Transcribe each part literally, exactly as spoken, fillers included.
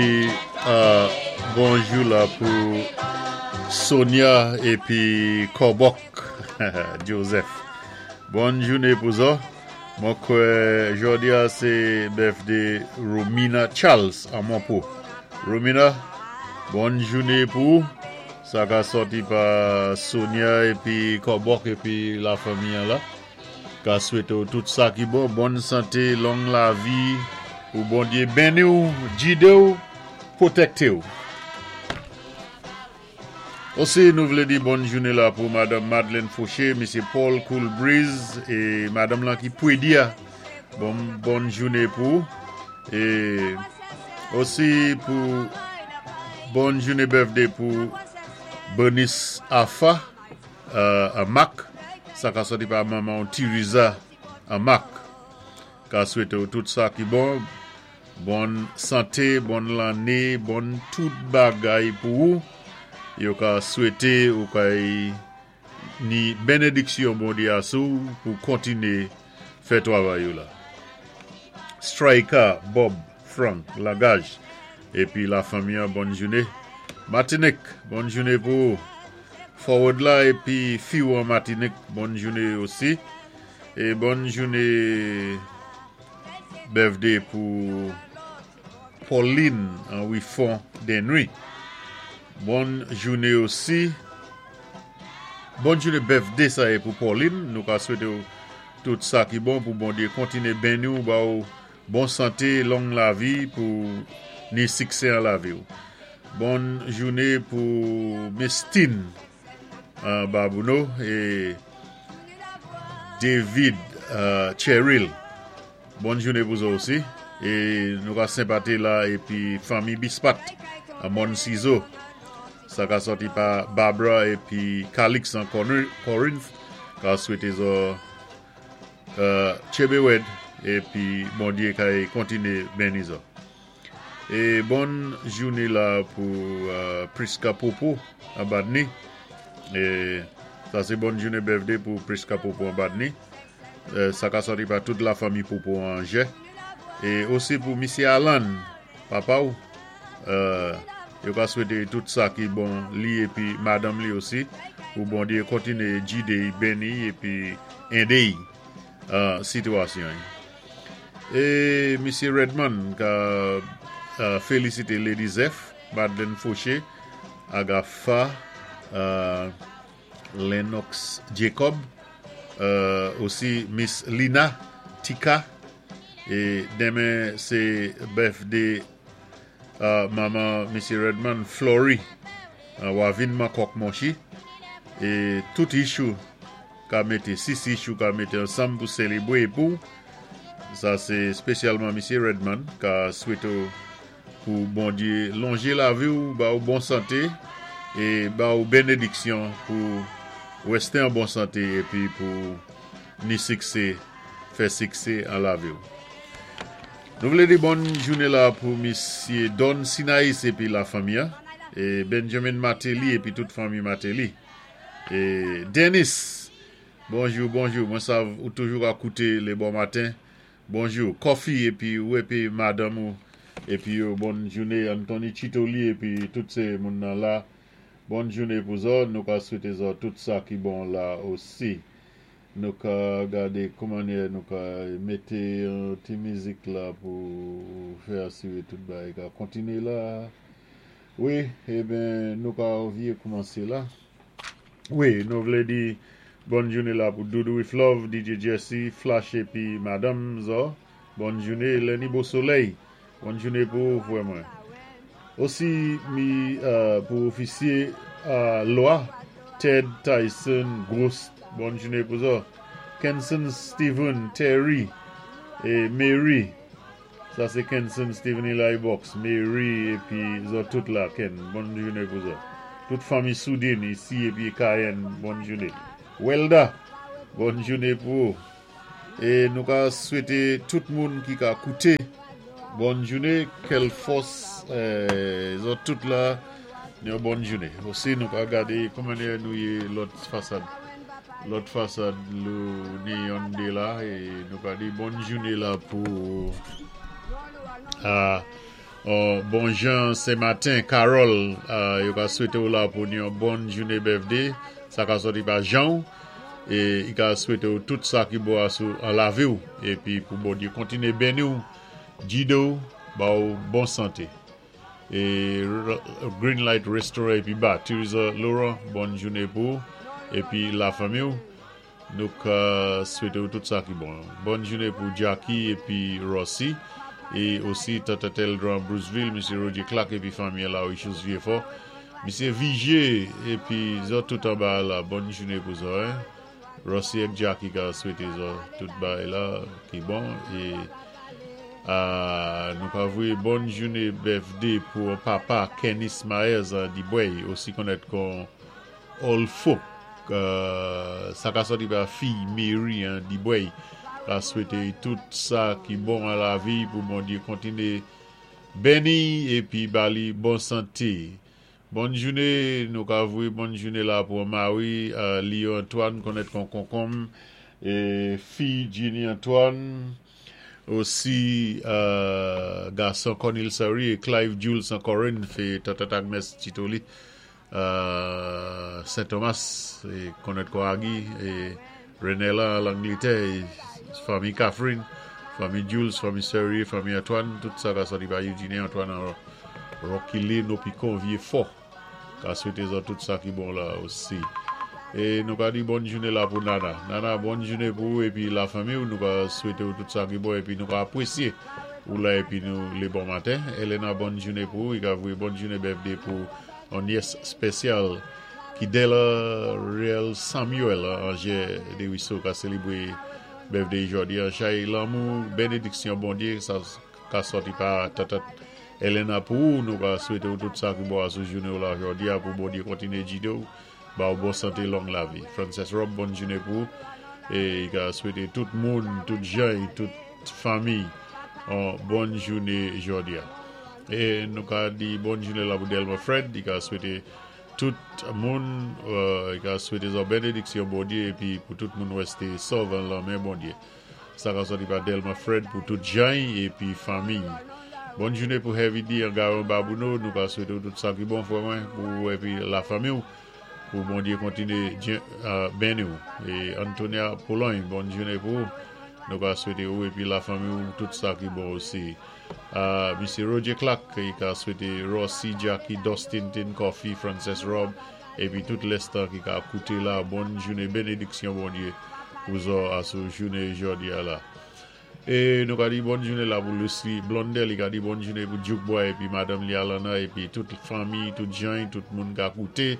Euh, bonjou la pou Sonia épi Kobok Joseph. Bòn jouné pou zòt. Mwen kwè jòdi-a sé birthday Romina Charles an Monpo. Romina, bòn jouné pou ou. Sa ka sòti pa Sonia épi Kobok épi la fanmi la. Ka swété tout sa ki bon, bòn santé, long lavi, pou Bondyé béni ou, gidé ou, pwotèkté ou. Osi, nou vlé di bòn jouné la pou Madanm Madeleine Fauché, Misyé Paul Coolbreeze é madanm la ki Pwedia. Bon, bòn jouné pou. É osi pou bòn jouné birthday pou Bernice Afa euh, a Mac. Sa ka sòti pa manman Teresa a Mac. Ka swété tout sa ki bon. Bòn santé, bòn lanné, bon tout bagay pou ou. Yo ka swété ou ka ni bénédiksyon Bondyé asou pou kontiné fè twavay la. Striker Bob Frank Lagage épi la fanmi bòn jouné. Matinik, bòn jouné pou Forward la épi Fiou an Matinik, bòn jouné osi. É bòn jouné birthday pou Pauline an Wifon Denry. Bòn jouné osi. Bòn jouné birthday sa é pou Pauline. Nou ka swété tout sa ki bon pou Bondyé kontiné béni ou ba ou bon santé, long lavi pou ni siksè an lavi ou. Bòn jouné pou Mestine an Babouno é David euh, Cheryl. Bòn jouné pou ou osi. É nou ka senpati la épi fanmi Bispat a Mon Ciseau. Sa ka sòti pa Barbara épi Calix an Corinth. Ka swété zo euh, Chebewed épi Bondyé ka kontiné béni zo. É bòn jouné la pou euh, Priska Popo a Badni. É sa sé bòn jouné birthday pou Priska Popo an Badni. Euh, sa ka sòti pa tout la fanmi Popo an Jè. É osi pou Misyé Alan, papa ou, euh, yo ka swété tout sa ki bon li épi madanm li osi pou Bondyé kontiné gidé béni épi édé euh, sitiyasyon. É Misyé Redmond ka euh, félisité Lady Zeph, Madeleine Fauché, Agatha, euh, Lennox Jacob, euh, osi Miss Lina Tika, é denmen sé birthday euh, manman Misyé Redmond Flory, euh, Wavin Makok Monchi, é tout issue ka mété, sis issue ka mété ansanm pou sélébwé pou sa sé spésyalman Misyé Redmond ka swété pou Bondyé lonjé lavi ou ba ou bon santé é ba ou bénédiksyon pou wèsté an bon santé épi pou ni siksè fè siksè an lavi ou. Nou vlé di bòn jouné la pou Misyé Don Sinaïs épi la fanmi é Benjamin Martelly épi tout fanmi Martelly. É Dennis, bonjou, bonjou. Mwen sav ou toujou ap kouté lé bon maten. Bonjou. Coffee épi ou épi madanm ou épi yo, bòn jouné Anthony Chitoli épi tout sé moun nan la. Bòn jouné pou zòt. Nou ka swété zòt tout sa ki bon la osi. Nou ka gadé kouman nou ka mété yon ti mizik la pou fè asiwé tout bagay ka kontiné la. Wi, eben nou ka anvi koumansé la. Wi, nou vlé di bòn jouné la pou Doudou with Love, DJ Jesse, Flash épi Madanm Zo. Bòn jouné Lenny Beau Soleil. Bòn jouné pou frè mwen. Osi mi euh, pou ofisyé euh, lwa Ted Tyson Gros. Bòn jouné pou zòt. Kenson Steven Terry é Mary. Sa sé Kenson Steven Eli Box, Mary épi zòt tout la Ken. Bòn jouné pou zòt. Tout fanmi Soudine isi épi Cayenne, bòn jouné. Welda, bòn jouné pou ou. É nou ka swété tout moun ki ka kouté bòn jouné, kèl fòs euh, zòt tout la yon bòn jouné. Osi nou ka gadé kouman nou yé lòt fasad. Lòt fasad lou ni yon dé la é nou ka di bòn jouné la pou euh, Oh, bon jan sé maten, Carol, euh, yo ka swété ou la pou yon bon jouné birthday. Sa ka sòti pa Jean é i ka swété ou tout sa ki bon asou an lavi ou épi pou Bondyé kontiné béni ou, gidé ou, ba ou bon santé. É Green Light Restaurant épi ba Teresa Laurent, bon jouné pou ou épi lafanmi ou. Nou ka swété ou tout sa ki bon. Bon jouné pou Jackie épi Rossi é osi Tata Teldran Bruceville, Misye Roger Clark épi fanmi la Richus Vieux-Fort. Misye Vigier épi zòt tout anba la, bon jouné pou zòt, hein. Rossi ak Jackie ka swété zòt tout bagay la ki bon é euh, nou ka voyé bon jouné birthday pou papa Kenny Myers Dibway, osi konnèt kon Old Folk. Euh, sa ka sòti pa fi Mary, hein, Dibway ka swété tout sa ki bon an lavi, pou Bondyé kontiné béni épi ba li bon santé. Bon jouné, nou ka voyé bon jouné la pou Marie, euh, Léo Antoine, konnèt kon Konkonm, é fi Ginny Antoine, osi euh, gason Cornel Sari é Clive Jules an Corinne, é Tata Agnes Titoli, euh, Saint Thomas, é konnèt kon Agui, é Renella Langletè, é fanmi Catherine, fanmi Jules, fanmi Sari, fanmi Antoine, tout sa ka sòti pa Eugénie Antoine an Rocky Lane, Opicon, Vieux-Fort. Ka swété zòt tout sa ki bon la osi. É nou ka di bon jouné la pou Nana. Nana, bon jouné pou ou épi lafanmi ou, nou ka swété ou tout sa ki bon épi nou ka apwésyé ou la épi nou lé bon maten. Elena, bon jouné pou ou, i ka voyé bon jouné birthday pou yon nièce spésyal Kidela Real Samuel Angers de Wisso ka sélébwé birthday jòdi. Chay lanmou, bénédiksyon Bondyé, sa ka sòti pa tata Elena pou ou, nou ka swété ou tout sa ki bon asou jouné ou la jòdi a, pou Bondyé kontiné gidé ou, ba ou bon santé, long lavi. Frances Rob, bon jouné pou ou, é i ka swété tout moun, tout jan, tout fanmi, an bon jouné jòdi a. É nou ka di bon jouné la pou Delma Fred, i ka swété tout moun, euh, i ka swété zòt bénédiksyon Bondyé, épi pou tout moun wèsté sòv an lanmen Bondyé. Sa ka sòti pa Delma Fred pou tout jan épi fanmi. Bon jouné pou Heavy D an Garon Babouno, nou ka swété ou tout sa ki bon frè mwen, pou épi lafanmi ou, pou Bondyé kontiné euh, béni ou. É Antonia Pologne, bon jouné pou ou, nou ka swété ou épi lafanmi ou tout sa ki bon osi. Euh, Misye Roger Clark, i ka swété Rossi, Jackie, Dustin, Tin Coffee, Frances Rob, épi tout lèstan ki ka kouté la, bon jouné, bénédiksyon Bondyé pou zòt asou jouné jòdi a la. É nou ka di bon jouné la pou Lucy Blondel, i ka di bon jouné pou Duke Boy épi Madame li Alana épi tout fanmi, tout jan, tout moun ka kouté.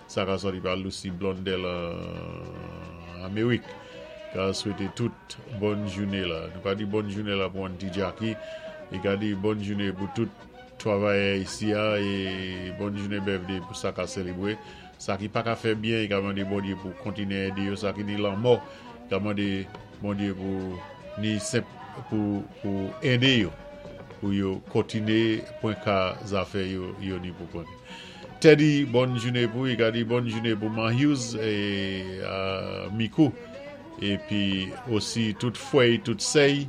Sa ka sòti pa Lucy Blondel an Amerik. Ka swété tout bon jouné la. Nou ka di bon jouné la pou Auntie Jackie. I ka di bon jouné pou tout travayè isi a é bon jouné birthday pou sa ka sélébwé. Sa ki pa ka fè byen, i ka mandé Bondyé pou kontiné édé yo. Sa ki ni lanmò, i ka mandé Bondyé pou ni senp pou, pou édé yo, pou yo kontiné pwen ka zafè yo, yo ni pou konnen. Teddy, bon jouné pou, i ka di bon jouné pou Man Hughes é euh, Mikou, épi osi tout fwèy, tout sèy,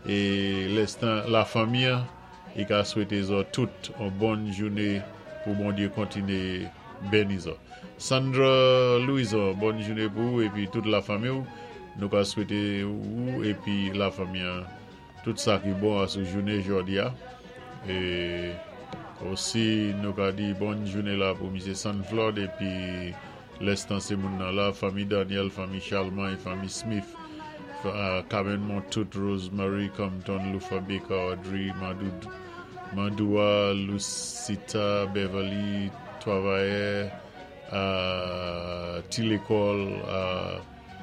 é lèstan lafanmi, i ka swété zòt tout an bon jouné pou Bondyé kontiné béni zòt. Sandra Louison, bon jouné pou ou épi tout lafanmi ou, nou ka swété ou épi lafanmi tout sa ki bon asou jouné jòdi a. É osi nou ka di bon jouné la pou Misye Sanflord épi lèstan sé moun nan la, fanmi Daniel, fanmi Charlemagne, fanmi Smith, euh, Carmen Montout, Rosemary Compton, Lufa Baker, Audrey Mandou, Mandoua, Lucita, Beverly, Travailleur, euh, ti lékòl, euh,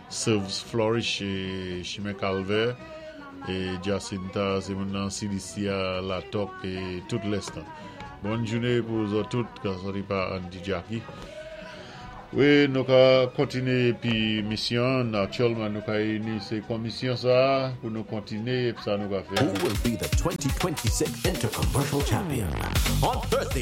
Serves Flourish é Chimè Calvaire é Jacinta, sé moun nan C D C a La Toc é tout lèstan. Bon jouné pou zòt tout, ka sòti pa Auntie Jackie. Wi, nou ka kontiné épi misyon, natirèlman nou ka ini sé komisyon sa pou nou kontiné épi sa nou ka fè. Who will be the twenty twenty-six Intercommercial Champion? On Thursday,